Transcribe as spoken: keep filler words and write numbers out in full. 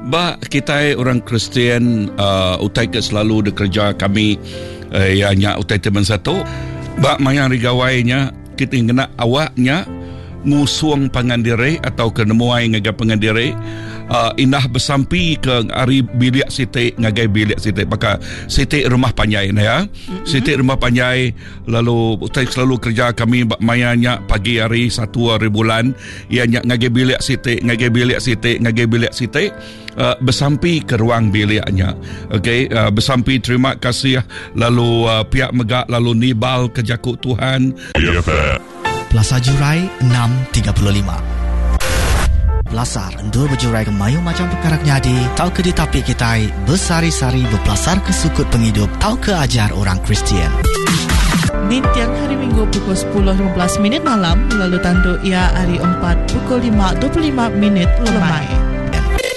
Ba kita orang Kristian uh, utai ke selalu dikerja kami uh, ya nya utai teman satu ba maya hari gawainya kita kena awaknya ngusung pangan diri atau ke nemuai ngagai pangan diri uh, indah besampi ke hari bilik siti ngagai bilik siti baka siti rumah panjai nah ya mm-hmm. Siti rumah panjai lalu utai selalu kerja kami maya nya pagi hari satu hari bulan ia nya ngagai bilik siti ngagai bilik siti ngagai bilik siti uh, besampi ke ruang biliknya. Okey, uh, besampi terima kasih lalu uh, pihak megak lalu nibal ke jakuk Tuhan. Plaza Jurai enam tiga puluh lima. Pelasar endur berjurai ke mayu macam perkara nyadi tau ke ditapi kitai besari-sari berpelasar ke sukut penghidup tau ke ajar orang Kristian. Nintiang hari Minggu pukul sepuluh lima belas minit malam lalu tanduk ia hari empat pukul lima dua puluh lima minit lemai.